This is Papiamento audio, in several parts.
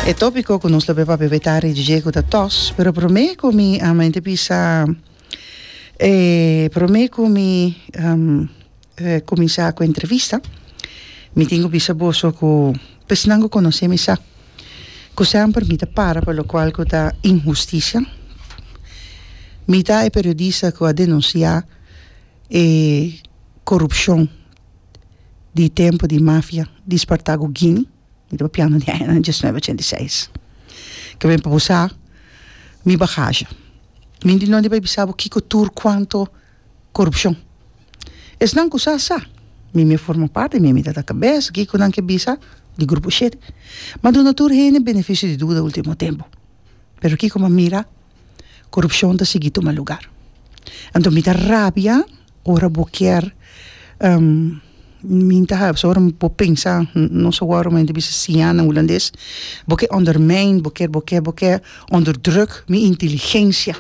E tópiko ku nos lo be papia betari dje ku ta tòs, pero promé ku mi a mente bisa e promé ku mi kuminsá ku entrevista, mi tin ku bisa boso ku esnan ku konosé mi sa ku semper mi ta para pa lokual ku ta inhustisia. Mi ta e periodista ku a denunsiá e korupshon di tempu di mafia di Spartago Guini, mi ta papiando di añanan diesnuebe ochenta i seis, ke ben pa bo sa mi bagahe. Mi di no di bai bisa bo kiko tur kuanto korupshon. Esnan ku sa sa, mi mi a forma parti, mi mi ta ta kabes, kiko nan ke bisa di grupo shete. M'a duna tur hende benefisio di duda ultimo tempu, pero kiko m'a mira? Korupshon ta sigui tuma lugar. Anto mi ta rabia ora bo kier mi ta haya pasobra ora bo pensa no sa wou mi ta bisa siña na hulandes bo ke ondermijn bo ke bo ke bo ke onderdruk mi inteligensia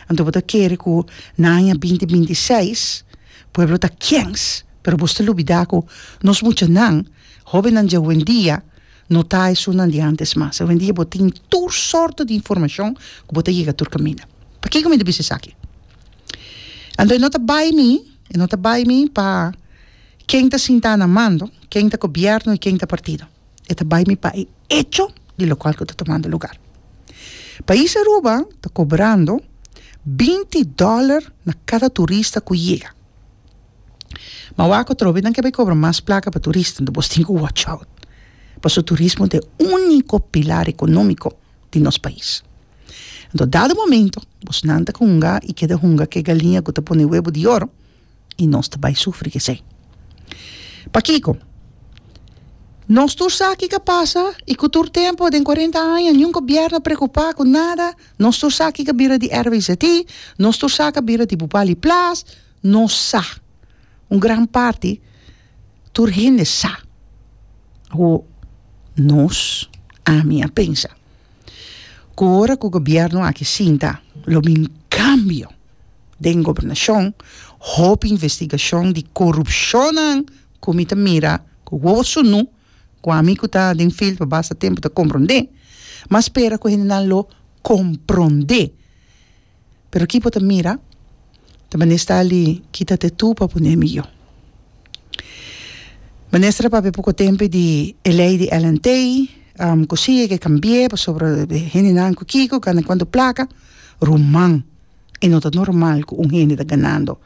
anto bo ta kere ku na aña binti 26 pueblo ta kens pero bo sta lubida ku nos muchanan hobennan dje awendia no ta esunnan di antes mas awendia bo tin tur sorto di informashon ku bo ta yega tur kaminda pakiko mi ta bisa esaki. Anto e no ta bai mi, e no ta bai mi pa ken ta sintá na mando, ken ta gobièrnu i ken ta partido. E ta bai mi pa e echo di lokual ku ta tumando lugar. Pais Aruba ta kobrando 20 dòler na kada turista ku yega. Ma wak atrobe nan ke bai kobra mas plaka pa turista, anto bos tin ku watch out. Pasobra turismo ta e úniko pilar ekonómiko di nos pais. Anto dado momento bosnan ta hunga i keda hunga ku e galiña ku ta pone webu di oro i nos ta bai sufri ku esei. Pakiko? Nos tur sa kiko a pasa i ku tur tempu den kuarenta aña niun gobièrnu a preokupá ku nada, nos tur sa kiko a bira di RWZI, nos tur sa kiko a bira di Bubali Plas, nos sa, un gran parti tur hende sa. Awor nos, ami a pensa. Ku ora ku gobièrnu aki sinta lo bin kambio den gobernashon, hopi investigashon di korupshonnan ku mi ta mira ku wowo sunu, ku ami ku ta den field pa basta tempu ta komprondé, m'a spera ku hendenan lo komprondé. Pero ki bo ta mira? Ta minister ali kita te tu pa pone mi yo. Minister a papia poko tempu di e ley di LNT, ku si e ke kambi'é pasobra hendenan ku kiko gana kuantu plaka. Ruman, e no ta normal ku un hende ta ganando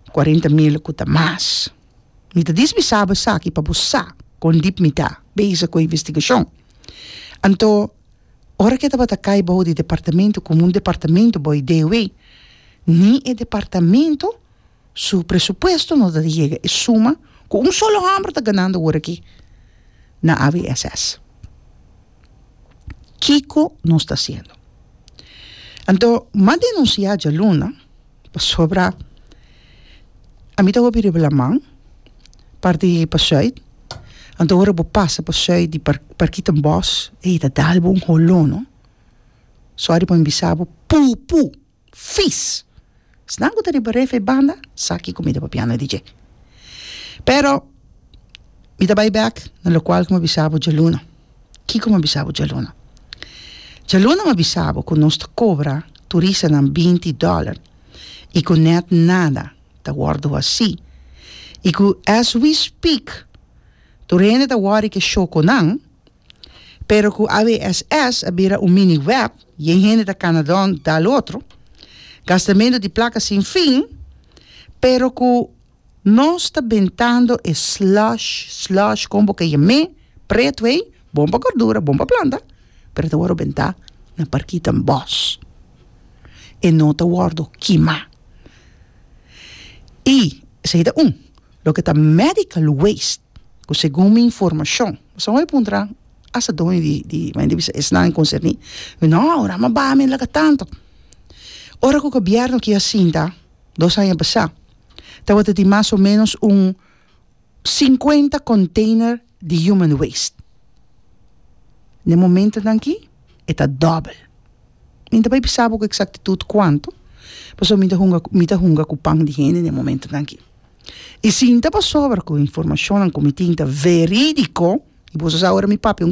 40 mil ku ta mas. Mi ta dismisa bo esaki pa bo sa kon dip mi ta bezig ku e investigashon. Anto. Ora ke tabata kai bou di departamento komo un departamento bou di DOW, ni e departamento su presupuesto no ta yega e suma ku un solo hòmber ta ganando awor aki na AWSS. Kiko nos ta hasiendo? Anto m'a denunsiá djaluna pasobra ami ta hopi riba laman parti pa sùit, anto ora bo pasa pa sùit di Parkietenbos ey ta dal bo un holó no, sòri pa mi bisa bo pupu, fis! Esnan ku ta riba ref e banda sa kiko mi ta papiando di dje. Pero mi ta bai bèk na lokual ku mi a bisa bo djaluna. Kiko mi a bisa bo djaluna? Djaluna mi a bisa bo ku nos ta kobra turistanan 20 dòler i ku nèt nada ta wòrdu hasí i ku as we speak tur hende ta wòri ke shoko nan pero ku AWSS a bira un mini web yen hende ta kana don dal otro gastamentu di plaka sin fin pero ku nos ta bentando e slush slush kon bo ke yam'é pretu ei bon pa gordura bon pa planta pero ta wòrdu bentá na Parkietenbos e no ta wòrdu kimá. I esei ta un. Loke ta medical waste, ku segun mi informashon, pasobra mi puntra asta doño di di mi a bisa esnan konserní, mi no, ora mi a baha mi a laga tantu. Ora ku gobièrnu ki a sinta 2 aña pasá, tabata tin mas o ménos un 50 container di human waste. Na e momentonan aki e ta dòbel. Mi ta bai bisa bo ku eksaktitut kuantu, pasobra mi ta hunga mi ta hunga ku pan di hende na e momentonan aki. I sinta pasobra ku informashonnan ku mi tin ta verídiko, i boso sa ora mi papia un.